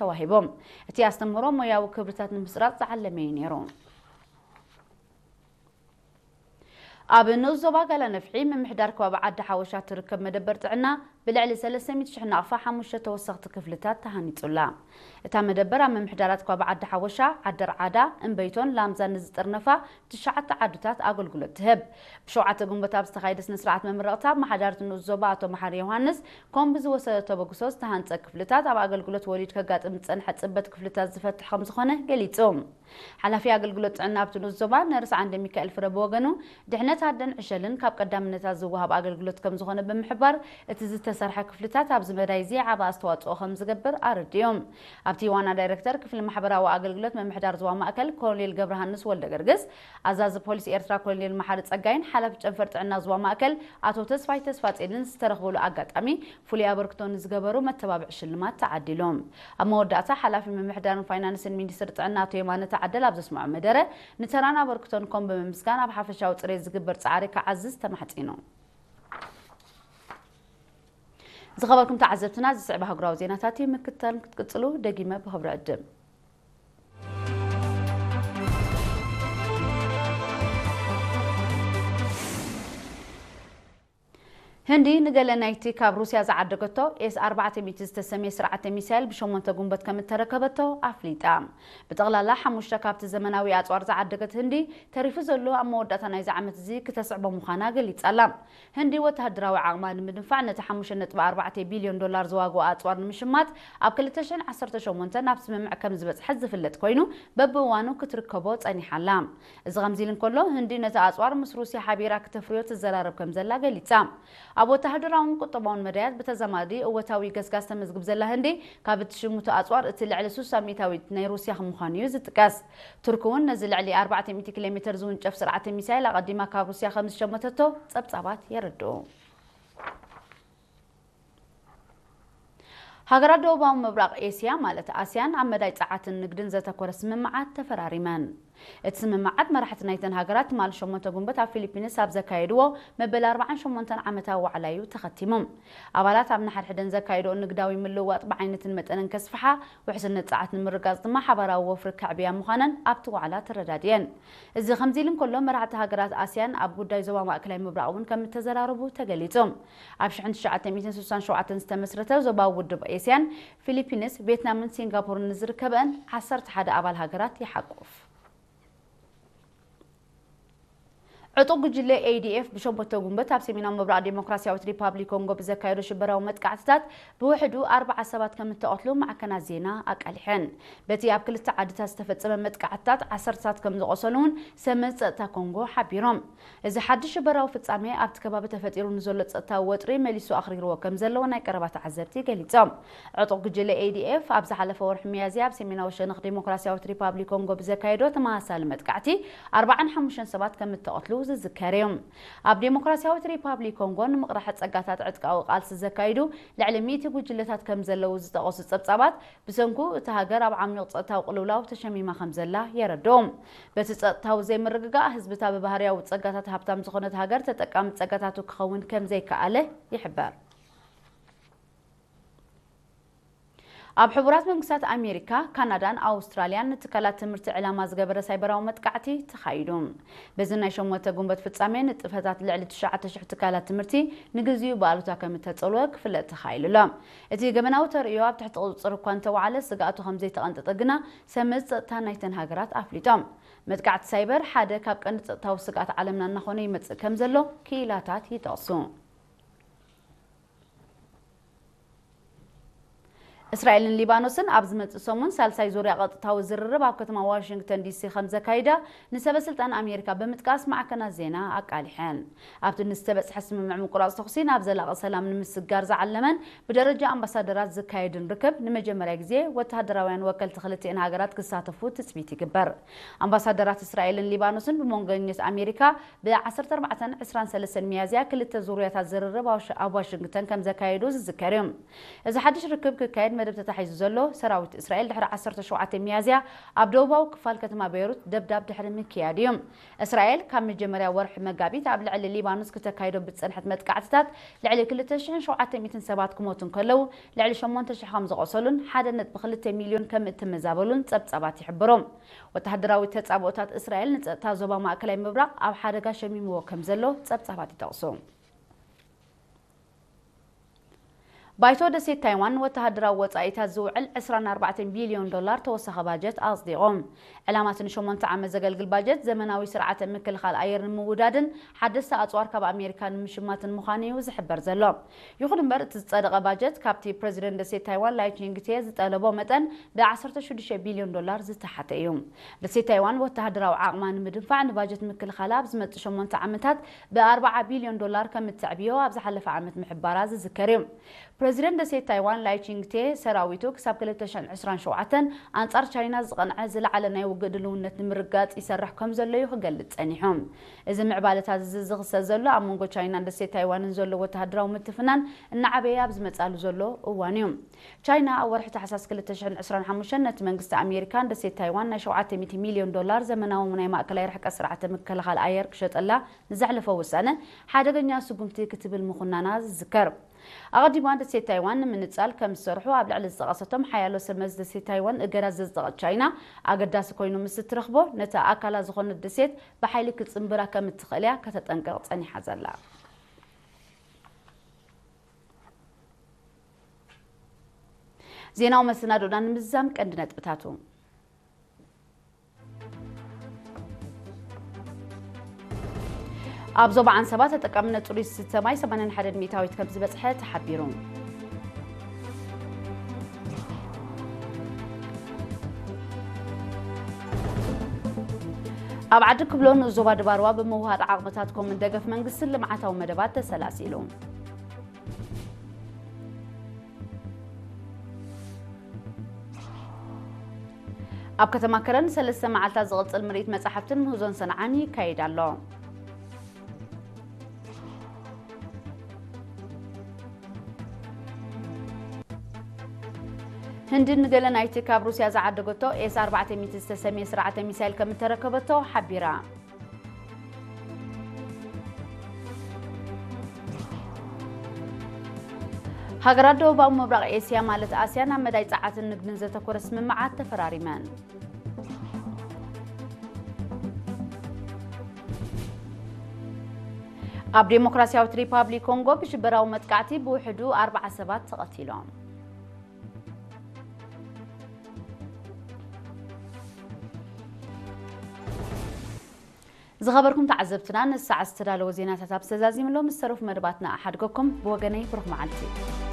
ተዋሂቦም። እቲ ኣስተምህሮ ሞያዊ ክብርታት ንምስራጽ ዝዓለመ እዩ ነይሩ። ኣብ ንኡስ ዞባ ጋላ ነፍሒ ምምሕዳር ከባቢ ዓዲ ሓወሻ ትርከብ መደበር ጥዕና ብልዕሊ ሰለስተ ሚእቲ ሽሕ ናቕፋ ሓሙሽተ ተወሰኽቲ ክፍልታት ተሃኒጹላ። እታ መደበር ኣብ ምምሕዳራት ከባቢ ዓዲ ሓወሻ፣ ዓዲ ርዓዳ፣ እምበይቶን ላምዛን ንዝጥርነፋ ትሽዓተ ዓድታት ኣገልግሎት ትህብ። ብሸውዓተ ግንቦት ኣብ ዝተኻየደ ስነ ስርዓት መመረቕታ፣ ኣመሓዳሪ እቲ ንኡስ ዞባ ኣቶ መሓሪ ዮሃንስ ኮምቢ ዝወሰዶ ተበግሶ ዝተሃንጸ ክፍልታት ኣብ ኣገልግሎት ወሊድ ከጋጥም ዝጸንሐ ጽበት ክፍልታት ዝፈትሕ ከም ዝኾነ ገሊጹ። ሓላፊ ኣገልግሎት ጥዕና ኣብቲ ንኡስ ዞባ ነርስ ዓንደ ሚካኤል ፍረ ብወገኑ፣ ድሕነት ኣደን ዕሸልን ካብ ቀዳምነታት ዝወሃብ ኣገልግሎት ከም ዝኾነ ብምሕባር፣ እቲ ዝተሰርሐ ክፍልታት ኣብዚ መዳይ እዚ ዓቢ ኣስተዋጽኦ ከም ዝገብር ኣረዲኡ። ኣብቲ ዋና ዳይረክተር ክፍሊ ማሕበራዊ ኣገልግሎት ምምሕዳር ዞባ ማእከል ኮሎኔል ገብረሃንስ ወልደገርግስ፣ ኣዛዚ ፖሊስ ኤርትራ ኮሎኔል መሓሪ ጸጋይን ሓላፊ ጨንፈር ጥዕና ዞባ ማእከል ኣቶ ተስፋይ ተስፋጼንን ዝተረኽብሉ ኣጋጣሚ ፍሉይ ኣበርክቶ ንዝገበሩ መተባብዒ ሽልማት ተዓዲሎም። ኣብ መወዳእታ ሓላፊ ምምሕዳርን ፋይናንስን ሚኒስትሪ ጥዕና ኣቶ የማነ ተዓደል ኣብ ዘስምዖ መደረ፣ ንተራን ኣበርክቶን ኮም ብምምስጋን ኣብ ሓፈሻዊ ጽሬት ዝግበር ጻዕሪ ክዓዝዝ ተማሕጺኑ። ዝኸበርኩም ተዓዘብትና፣ ዝስዕብ ኣህጉራዊ ዜናታት እዩ። ምክትታል ክትቅጽሉ ደጊመ ብኽብሪ ዕድም። ህንዲ ንገለ ናይቲ ካብ ሩስያ ዝዓደገቶ ኤስ ኣርባዕተ ሚእቲ ዝተሰምየ ስርዓተ ሚሳይል ብሸሞንተ ጉንበት ከም እተረከበቶ ኣፍሊጣ። ብጠቕላላ ሓሙሽተ ካብቲ ዘመናዊ ኣጽዋር ዝዓደገት ህንዲ፣ ተሪፉ ዘሎ ኣብ መወዳእታ ናይዚ ዓመት እዚ ክተስዕቦ ምዃና ገሊጻ ኣላ። ህንዲ ወተሃደራዊ ዓቕማ ንምድንፋዕ ነቲ ሓሙሽተ ነጥቢ ኣርባዕተ ቢልዮን ዶላር ዝዋግኦ ኣጽዋር ንምሽማት ኣብ ክልተ ሽሕን ዓሰርተ ሸሞንተ ናብ ስምምዕ ከም ዝበጽሐት ዝፍለጥ ኮይኑ፣ በብእዋኑ ክትርከቦ ጸኒሓ ኣላ። እዚ ከምዚ ኢሉ እንከሎ፣ ህንዲ ነቲ ኣጽዋር ምስ ሩስያ ሓቢራ ክተፍርዮ ትዘራረብ ከም ዘላ ገሊጻ። ኣብ ወተሃደራውን ቁጠባውን መዳያት ብተዛማዲ እወታዊ ገስጋስ ተመዝግብ ዘላ ህንዲ፣ ካብ እቲ ሽሙቲ ኣጽዋር እቲ ልዕሊ ስሳ ሚእታዊት ናይ ሩስያ ከም ምዃኑ እዩ ዝጥቀስ። ቱርኪ እውን ነዚ ልዕሊ ኣርባዕተ ሚእቲ ኪሎ ሜትር ዝውንጨፍ ስርዓተ ሚሳይል ኣቐዲማ ካብ ሩስያ ከም ዝሸመተቶ ጸብጻባት የረድኡ። ሃገራት ደቡባዊ ምብራቕ ኤስያ ማለት ኣስያን ኣብ መዳይ ጸዓትን ንግድን ዘተኮረ ስምምዓት ተፈራሪመን። እቲ ስምምዓት መራሕቲ ናይተን ሃገራት ትማሊ ሸሞንተ ጉንበት ኣብ ፊሊፒንስ ኣብ ዘካየድዎ መበል ኣርባዓን ሸሞንተን ዓመታዊ ዋዕላ እዩ ተኸቲሙ። ኣባላት ኣብ ንሓድሕደን ዘካየድኦ ንግዳዊ ምልውዋጥ ብዓይነትን መጠንን ከስፍሓ፣ ውሕስነት ጸዓት ንምርጋጽ ድማ ሓባራዊ ወፍሪ ከዕብያ ምዃነን ኣብቲ ዋዕላ ተረዳዲኤን። እዚ ከምዚ ኢሉ እንከሎ፣ መራሕቲ ሃገራት ኣስያን ኣብ ጉዳይ ዞባ ማእከላይ ምብራቕ እውን ከም እተዘራረቡ ተገሊጹ። ኣብ ሽሕን ትሽዓተ ሚእትን ስሳን ሸውዓተን ዝተመስረተ ዞባዊ ውድብ ኤስያን፣ ፊሊፒንስ፣ ቬትናምን ሲንጋፖርን ንዝርከበአን ዓሰርተ ሓደ ኣባል ሃገራት ይሓቁፍ። ዕጡቕ ጉጅለ ኤ ዲ ኤፍ ብሸሞንተ ጉንበት ኣብ ሰሜናዊ ምብራቕ ዴሞክራሲያዊት ሪፓብሊክ ኮንጎ ብዘካየዶ ሽበራዊ መጥቃዕትታት ብውሕዱ ኣርባዓ ሰባት ከም እተቐትሉ ማዕከናት ዜና ኣቃሊሐን። በቲ ኣብ ክልተ ዓድታት ዝተፈጸመ መጥቃዕትታት ዓሰርተታት ከም ዝቖሰሉ እውን ሰመዝ ጸጥታ ኮንጎ ሓቢሮም። እዚ ሓድሽ ሽበራዊ ፍጻሜ ኣብቲ ከባቢ ተፈጢሩ ንዘሎ ጸጥታዊ ወጥሪ መሊሱ ኣኽሪርዎ ከም ዘለዎ ናይ ቀረባ ተዓዘብቲ ገሊጾም። ዕጡቕ ጉጅለ ኤ ዲ ኤፍ ኣብ ዝሓለፈ ወርሒ ሚያዝያ ኣብ ሰሜናዊ ሸነኽ ዴሞክራሲያዊት ሪፓብሊክ ኮንጎ ብዘካየዶ ተመሳሳሊ መጥቃዕቲ ኣርባዓን ሓሙሽተን ሰባት ከም እተቐትሉ ዝዝከር እዩ። ኣብ ዴሞክራሲያዊት ሪፓብሊክ ኮንጎ ንምቕራሕ ጸጋታት ዕጥቃዊ ቃልሲ ዘካይዱ ልዕሊ ሚእቲ ጉጅለታት ከም ዘለዉ ዝጠቐሱ ጸብጻባት፣ ብሰንኩ እታ ሃገር ኣብ ዓሚቕ ጸጥታዊ ቅልውላው ተሸሚማ ከም ዘላ የረድኡ። በቲ ጸጥታዊ ዘይምርግጋእ፣ ህዝብታ ብባህርያዊ ጸጋታት ሃብታም ዝኾነት ሃገር ተጠቃሚ ጸጋታቱ ክኸውን ከም ዘይከኣለ ይሕበር። ኣብ ሕቡራት መንግስታት ኣሜሪካ፣ ካናዳን ኣውስትራልያን ንትካላት ትምህርቲ ዕላማ ዝገበረ ሳይበራዊ መጥቃዕቲ ተኻይዱ። በዚ ናይ ሸሞንተ ጉንበት ፍጻሜ፣ ንጥፈታት ልዕሊ ትሽዓተ ሽሕ ትካላት ትምህርቲ ንግዚኡ ብኣሉታ ከም እተጸልወ ክፍለጥ ተኻኢሉ ኣሎ። እቲ ገበናዊ ተርእዮ ኣብ ትሕቲ ቁጽጽር እኳ እንተወዓለ፣ ስግኣቱ ከም ዘይተቐንጠጠ ግና ሰመዝ ጸጥታ ናይተን ሃገራት ኣፍሊጦም። መጥቃዕቲ ሳይበር ሓደ ካብ ቀንዲ ጸጥታዊ ስግኣት ዓለምና እናኾነ ይመጽእ ከም ዘሎ ክኢላታት ይጠቕሱ። እስራኤልን ሊባኖስን ኣብ ዝመጽእ ሰሙን ሳልሳይ ዙርያ ቀጥታዊ ዝርርብ ኣብ ከተማ ዋሽንግተን ዲ ሲ ከም ዘካይዳ ንሰበ ስልጣን ኣሜሪካ ብምጥቃስ ማዕከናት ዜና ኣቃሊሐን። ኣብቲ ንዝተበጽሐ ስምምዕ ምቁራጽ ተኹሲ ናብ ዘላቒ ሰላም ንምስግጋር ዝዓለመን ብደረጃ ኣምባሳደራት ዝካየድን ርክብ ንመጀመርያ ግዜ ወተሃደራውያን ወከልቲ ክልቲኤን ሃገራት ክሳተፉ ትጽቢት ይግበር። ኣምባሳደራት እስራኤልን ሊባኖስን ብመንጎኛት ኣሜሪካ ብ ዓሰርተ ኣርባዕተን ዕስራን ሰለስተን ሚያዝያ ክልተ ዙርያታት ዝርርብ ኣብ ዋሽ-፣ ኣብ ዋሽንግተን ከም ዘካየዱ ዝዝከር እዩ። እዚ ሓድሽ ርክብ ክካየድ መደብ ተታሒዙ ዘሎ፣ ሰራዊት እስራኤል ድሕሪ ዓሰርተ ሸውዓተ ሚያዝያ ኣብ ደቡባዊ ክፋል ከተማ ቤይሩት ደብዳብ ድሕሪ ምክያድ እዩ። እስራኤል ካብ መጀመርያ ወርሒ መጋቢት ኣብ ልዕሊ ሊባኖስ ክተካይዶ ብዝጸንሐት መጥቃዕትታት ልዕሊ ክልተ ሽሕን ሸውዓተ ሚእትን ሰባት ክሞቱ እንከለዉ፣ ልዕሊ ሸሞንተ ሽሕ ከም ዝቖሰሉን ሓደ ነጥቢ ክልተ ሚልዮን ከም እተመዛበሉን ጸብጻባት ይሕብሩ። ወተሃደራዊ ተጻብኦታት እስራኤል ንጸጥታ ዞባ ማእከላይ ምብራቕ ኣብ ሓደጋ ሸሚምዎ ከም ዘሎ ጸብጻባት ይጠቕሱ። ባይቶ ደሴት ታይዋን ወተሃደራዊ ወጻኢታት ዝውዕል ዕስራን ኣርባዕተን ቢልዮን ዶላር ተወሳኺ ባጀት ኣጽዲቑ። ዕላማቲ ንሸሞንተ ዓመት ዘገልግል ባጀት፣ ዘመናዊ ስርዓተ ምክልኻል ኣየር ንምውዳድን ሓደስቲ ኣጽዋር ካብ ኣሜሪካ ንምሽማትን ምዃኑ እዩ ዝሕበር ዘሎ። ይኹን እምበር፣ እቲ ዝጸደቐ ባጀት ካብቲ ፕረዚደንት ደሴት ታይዋን ላይ ቺንግቴ ዝጠለቦ መጠን ብ ዓሰርተ ሽዱሽተ ቢልዮን ዶላር ዝተሓተ እዩ። ደሴት ታይዋን ወተሃደራዊ ዓቕማ ንምድንፋዕ ንባጀት ምክልኻላ ኣብ ዝመጽእ ሸሞንተ ዓመታት ብ ኣርባዓ ቢልዮን ዶላር ከም እተዕብዮ ኣብ ዝሓለፈ ዓመት ምሕባራ ዝዝከር እዩ። ፕረዚደንት ደሴት ታይዋን ላይ ቺንግቴ፣ ሰራዊቱ ክሳብ ክልተ ሽሕን ዕስራን ሸውዓተን ኣንጻር ቻይና ዝቐንዐ ዝለዓለ ናይ ውግእ ድልውነት ንምርጋጽ ይሰርሕ ከም ዘሎ እዩ ክገልጽ ጸኒሑ። እዚ ምዕባለታት እዚ ዝኽሰት ዘሎ ኣብ መንጎ ቻይናን ደሴት ታይዋንን ዘሎ ወተሃደራዊ ምትፍናን እናዓበየ ኣብ ዝመጻሉ ዘሎ እዋን እዩ። ቻይና ኣብ ወርሒ ታሕሳስ ክልተ ሽሕን ዕስራን ሓሙሽተን ነቲ መንግስቲ ኣሜሪካን ደሴት ታይዋን ናይ ሸውዓተ ሚእቲ ሚልዮን ዶላር ዘመናዊ ናይ ማእከላይ ርሕቀት ስርዓተ ምክልኻል ኣየር ክሸጠላ ንዘሕለፎ ውሳነ ሓደገኛ ስጉምቲ ክትብል ምኹናና ዝዝከር። ኣቐዲማ ደሴት ታይዋን ንምንጻል ከም ዝሰርሑ ኣብ ልዕሊ ዝጠቐሰቶም ሓያሎ ሰብ መዚ ደሴት ታይዋን እገዳ ዘጽደቐት ቻይና፣ ኣገዳሲ ኮይኑ ምስ እትረኽቦ፣ ነታ ኣካላ ዝኾነት ደሴት ብሓይሊ ክትጽንብራ ከም እትኽእል እያ ከተጠንቅቕ ጸኒሓ ዘላ። ዜናዊ መሰናዶና ንምዝዛም ቀንዲ ነጥብታቱ። ኣብ ዞባ ዓንሰባ ተጠቃምነት ጽሩይ ዝስተ ማይ ሰማንያን ሓደን ሚእታዊት ከም ዝበጽሐ ተሓቢሩ። ኣብ ዓዲ ክብሎ ንኡስ ዞባ ድባርዋ ብምውሃድ ዓቕምታት ኮምን ደገፍ መንግስትን ልምዓታዊ መደባት ተሰላሲሉ። ኣብ ከተማ ከረን ሰለስተ መዓልታት ዝቕጽል ምርኢት መጻሕፍትን ምህዞን ሰንዓን ይካየድ ኣሎ። ህንዲ ንገለ ናይቲ ካብ ሩስያ ዝዓደገቶ ኤስ ኣርባዕተ ሚእቲ ዝተሰምየ ስርዓተ ሚሳይል ከም እተረከበቶ ሓቢራ። ሃገራት ደቡባዊ ምብራቕ ኤስያ ማለት ኣስያን ኣብ መዳይ ጸዓትን ንግድን ዘተኮረ ስምምዓት ተፈራሪመን። ኣብ ዴሞክራሲያዊት ሪፓብሊክ ኮንጎ ብሽበራዊ መጥቃዕቲ ብውሕዱ ኣርባዓ ሰባት ተቐቲሎም። ዝኸበርኩም ተዓዘብትና፣ ንሰዓት ዝተዳለወ ዜናታት ኣብ ዝተዛዚም ኣሎ። ምስ ተረፉ መደባትና ኣሓድገኩም። ብወገነይ ብሩኽ መዓልቲ።